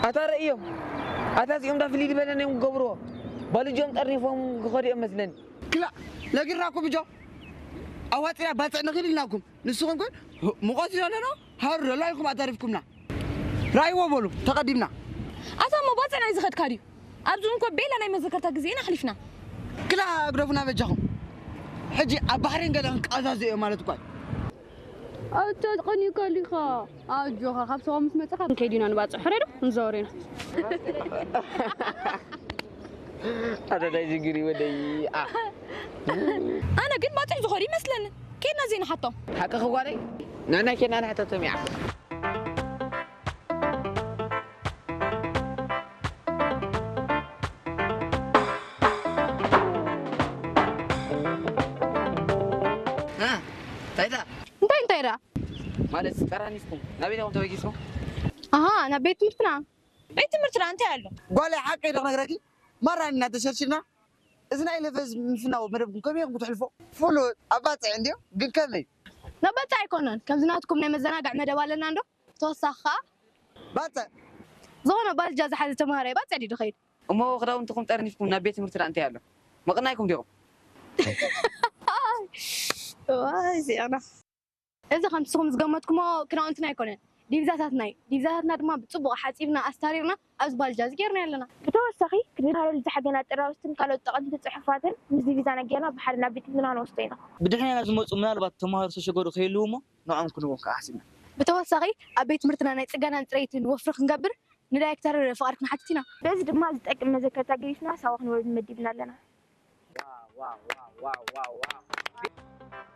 ኣታ ረእዮም፣ ኣታ እዚኦም ዳ ፍልይ ዝበለ ናይ ክገብርዎ፣ ባልጆም ጠርኒፎም ክኸዱ እዮም መስለኒ። ክላ፣ ነጊርናኩም እጆ፣ ኣዋፂና ባፅዕ ንኽእል ኢልናኩም። ንስኹም ግን፣ ሙቐት እዩ ዘለና፣ ሃሩ ዘሎ ኢልኩም ኣዛሪፍኩምና። ራይዎ በሉ፣ ተቐዲምና። ኣታ እሞ ባፅዕ ናይ ዝኸድካ ድዩ? ኣብዚ እንኮ ቤላ ናይ መዘከርታ ግዜ ኢና ኣሕሊፍና። ክላ፣ ግደፉና በጃኹም። ሕጂ ኣብ ባሕሪን ገለ ክንቃዛዘ እዮም ማለት እኳ እዩ። ኣታ ቀኒካ ሊኻ። ኣጆኻ፣ ካብ ሰባ ምስ መጻኻ ከይዲና ንባጽዕ። ሕረዶ ንዛወር ኢና። ኣደዳይ ጅግሪ ወደይ። ኣነ ግን ባጽዕ ዝኾነ ይመስለኒ። ከይድና ዘይንሓቶም። ሓቅኺ ጓለይ። ንዕና ኬድና ንሕተቶም እያ። እ፣ እንታይ ዳ? እንታይ እንታይ ዳ? ማለት ቀራኒፍኩም ናበይ ዲኹም ተበጊስኩም? ኣሃ፣ ናብ ቤት ትምህርትና። ቤት ትምህርትና እንታይ ኣሎ? ጓለይ ሓቂ ዶ ክነግረኪ? ማራ ኢና ተሸርሽርና። እዚ ናይ ለፈዝ ምፍናው መደብኩም ከመይ ኢኹም ክትሕልፎ? ፍሉጥ ኣባጽዕ እንድዮ፣ ግን ከመይ? ነባጽዕ ኣይኮነን። ከምዚ ናትኩም ናይ መዘናግዕ መደብ ኣለና እንዶ? ተወሳኺ ኸኣ ባጽዕ። ዝኾነ ባልጃ ዝሓዘ ተምሃራይ ባጽዕ ድዩ ዝኸይድ? እሞ ክዳውንትኹም ጠርኒፍኩም ናብ ቤት ትምህርትና እንታይ ኣሎ? መቕናይኩም ዲኹም? ዋይ፣ እዚኣና። እዚ ከም ንስኹም ዝገመትኩሞ ክዳውንትና ኣይኮነን። ዲቪዛታትና እዩ። ዲቪዛታትና ድማ ብጽቡቕ ሓጺብና፣ ኣስታሪርና፣ ኣብዚ ባልጃ እዚ ጌርና ኣለና። ብተወሳኺ፣ ክንመሃረሉ ዝሓገና ጥራውስትን ካልኦት ጠቐምቲ ጽሑፋትን ምስ ዲቪዛና ጌርና ብሓደ ናብ ቤት ትምህርትና ንወስዶ ኢና። ብድሕሬና ዝመጹ ምናልባት ተምሃሮ ዝተሸገሩ ክህልዉ እሞ፣ ንዕኦም ክንህቦም ከዓ ሓሲብና። ብተወሳኺ፣ ኣብ ቤት ትምህርትና ናይ ጽገናን ጽሬትን ወፍሪ ክንገብር ንዳይሬክተር ፍቓድ ክንሓትት ኢና። በዚ ድማ ዝጠቅም መዘከርታ ገዲፍና ሳዋ ክንወርድ መዲብና ኣለና። ዋው፣ ዋው፣ ዋው፣ ዋው፣ ዋው፣ ዋው።